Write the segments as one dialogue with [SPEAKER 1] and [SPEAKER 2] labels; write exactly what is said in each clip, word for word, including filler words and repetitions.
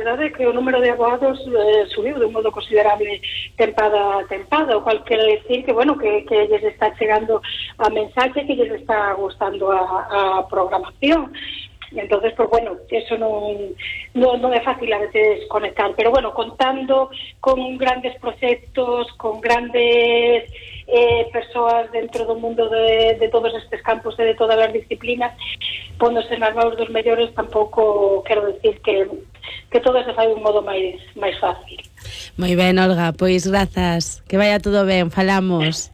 [SPEAKER 1] verdade é que o número de abogados eh, subiu de un modo considerable tempada a tempada, o cual quere decir que, bueno, que, que lles está chegando a mensaxe, que lles está gustando a, a programación. Entonces, pues bueno, eso non, non, non é fácil a veces conectar, pero bueno, contando con grandes proxectos, con grandes eh, persoas dentro do mundo de, de todos estes campos e de todas as disciplinas, póndose nas mãos dos mellores, tampouco quero decir que, que todo se fai de un modo máis, máis fácil.
[SPEAKER 2] Moi ben, Olga, pois grazas, que vaya todo ben, falamos.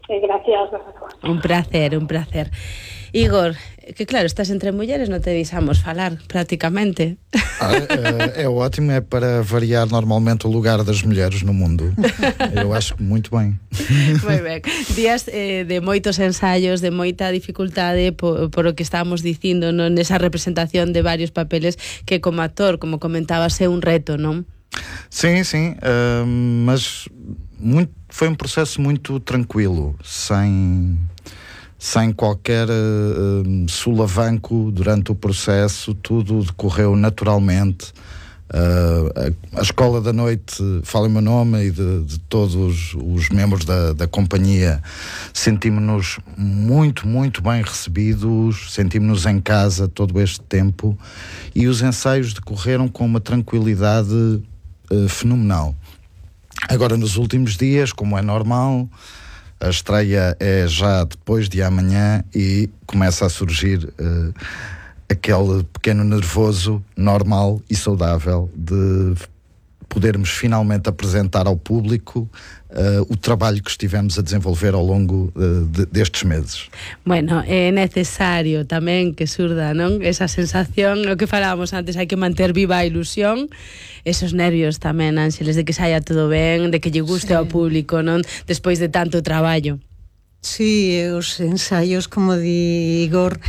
[SPEAKER 1] Eh, gracias, gracias.
[SPEAKER 2] Un placer, un placer. Igor, que claro, estás entre mulleres, non te deixamos falar prácticamente.
[SPEAKER 3] Ah, é, é ótimo, é para variar normalmente o lugar das mulheres no mundo. Eu acho que muito bem.
[SPEAKER 2] Moi ben. Días eh, de moitos ensaios, de moita dificultade por, por o que estábamos dicindo, non, nesa representación de varios papeles que como actor, como comentabas, é un reto, non?
[SPEAKER 3] Sim, sim, uh, mas muito, foi um processo muito tranquilo, sem... sem qualquer uh, sulavanco durante o processo, tudo decorreu naturalmente. Uh, a, a Escola da Noite, fala o meu nome e de, de todos os membros da, da companhia, sentimos-nos muito, muito bem recebidos, sentimos-nos em casa todo este tempo e os ensaios decorreram com uma tranquilidade uh, fenomenal. Agora, nos últimos dias, como é normal, a estreia é já depois de amanhã e começa a surgir uh, aquele pequeno nervoso normal e saudável de podermos finalmente apresentar ao público uh, o trabalho que estivemos a desenvolver ao longo uh, de, destes meses.
[SPEAKER 2] Bueno, é necesario tamén que surda, non? Esa sensación, o que falábamos antes, hai que manter viva a ilusión, esos nervios tamén, Ángeles, de que saia todo ben, de que lle guste sí. ao público, non? Despois de tanto traballo.
[SPEAKER 4] Sí, os ensaios, como di Igor,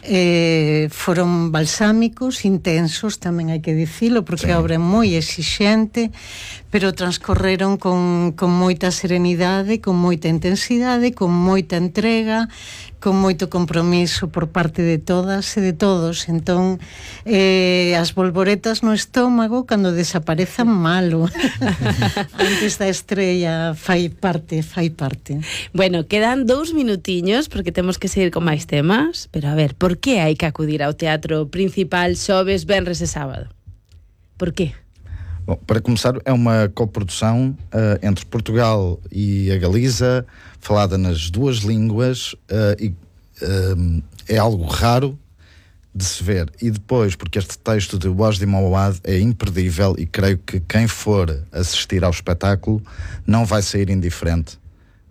[SPEAKER 4] eh, foron balsámicos, intensos, tamén hai que dicilo, porque sí. a obra é moi exixente, pero transcorreron con, con moita serenidade, con moita intensidade, con moita entrega, con moito compromiso por parte de todas e de todos. Entón, eh, as bolboretas no estómago cando desaparezan malo antes da estrella fai parte, fai parte.
[SPEAKER 2] Bueno, quedan dous minutiños porque temos que seguir con máis temas, pero a ver, por que hai que acudir ao teatro principal xoves, venres e sábado? Por que?
[SPEAKER 3] Bom, para começar, é uma coprodução uh, entre Portugal e a Galiza, falada nas duas línguas, uh, e uh, é algo raro de se ver. E depois, porque este texto de Wajdi Mawad é imperdível e creio que quem for assistir ao espetáculo não vai sair indiferente.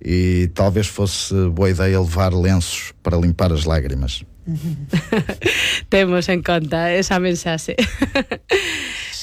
[SPEAKER 3] E talvez fosse boa ideia levar lenços para limpar as lágrimas.
[SPEAKER 2] Temos en conta esa mensaxe.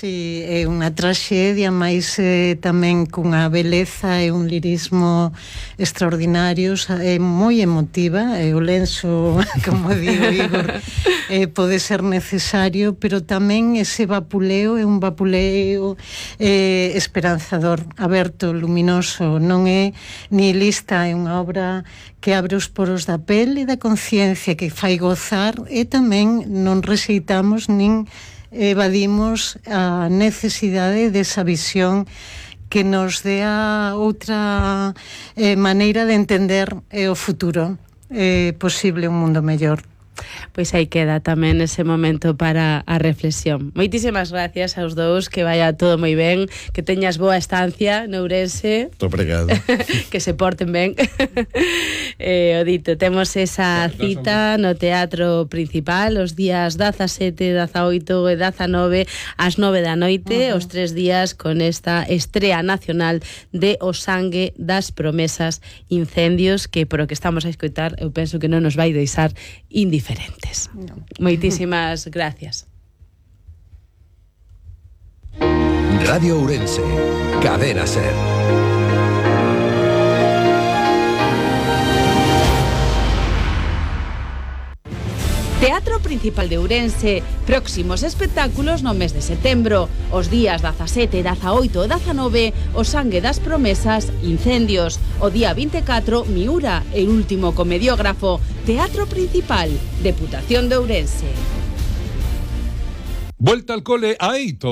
[SPEAKER 4] Sí, é unha traxedia, mas eh, tamén cunha beleza e un lirismo extraordinarios, é moi emotiva, e o lenzo, como digo, Igor, eh, pode ser necesario, pero tamén ese vapuleo é un vapuleo eh, esperanzador, aberto, luminoso, non é nihilista, é unha obra que abre os poros da pele e da conciencia, que fai gozar, e tamén non rexeitamos nin evadimos a necesidade desa visión que nos dea outra eh, maneira de entender eh, o futuro. É eh, posible un mundo mellor.
[SPEAKER 2] Pois aí queda tamén ese momento para a reflexión. Moitísimas gracias aos dous, que vaya todo moi ben, que teñas boa estancia no Ourense.
[SPEAKER 3] Muito obrigado.
[SPEAKER 2] Que se porten ben. eh, o dito, temos esa cita no Teatro Principal os días dezasete, dezaoito e dezanove ás nove da noite, uh -huh. os tres días con esta estrea nacional de O sangue das promesas, incendios, que por o que estamos a escoitar eu penso que non nos vai deixar indiferentes. Diferentes. No. Moitísimas gracias.
[SPEAKER 5] Radio Ourense, Cadena Ser.
[SPEAKER 2] Teatro Principal de Ourense, próximos espectáculos no mes de setembro, os días dezasete, dezaoito e dezanove, O sangue das promesas, incendios, o día vinte e catro, Miura, el último comediógrafo. Teatro Principal, Deputación de Ourense.
[SPEAKER 6] Vuelta al cole a Eito.